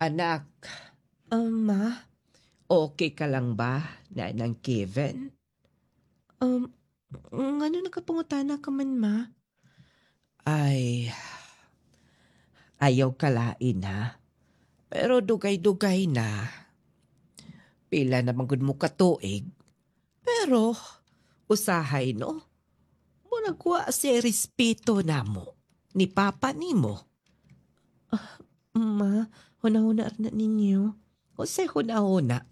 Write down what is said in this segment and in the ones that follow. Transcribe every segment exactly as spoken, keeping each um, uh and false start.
Anak, Um, ma? okay ka lang ba na ng Kevin? Um, ngano nakapangutana ka man, ma? Ay, ayaw kalain ha. Pero dugay-dugay na. Pila naman gud mo katuig. Pero, usahay no? Murag wa siya respeto namo. Ni papa nimo. Ma, huna-huna na ninyo. Unsay huna-huna.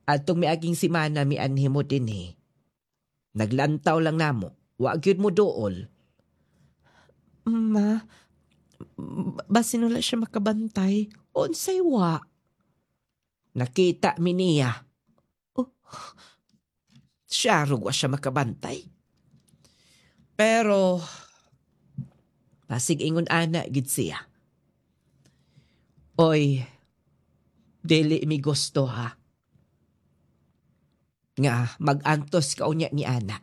Atong miaging simana mianhi mo dinhi. Naglantaw lang namo. Wa gyud mo duol. Ma, basin wala siya makabantay. Unsay wa? Nakita mi niya. Oh. Siya rog wa siya makabantay. Pero basig ingon ana gid siya. Oy, dili mi gusto ha. Nga magantos ka unya ni ana.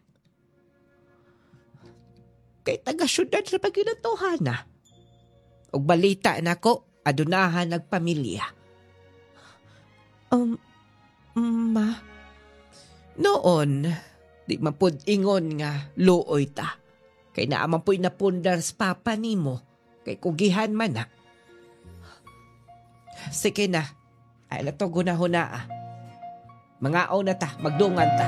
Kay taga syudad ra pa gyud na. Og balita nako, adunahan nagpamilya. Um, ma, Noon, di man pud ingon nga luoy ta. Kay naa man pu'y napundar sa papa nimo. Kay kugihan man na. Sige na, ay na to gunahuna ah. Mangaon na ta, magdungan ta.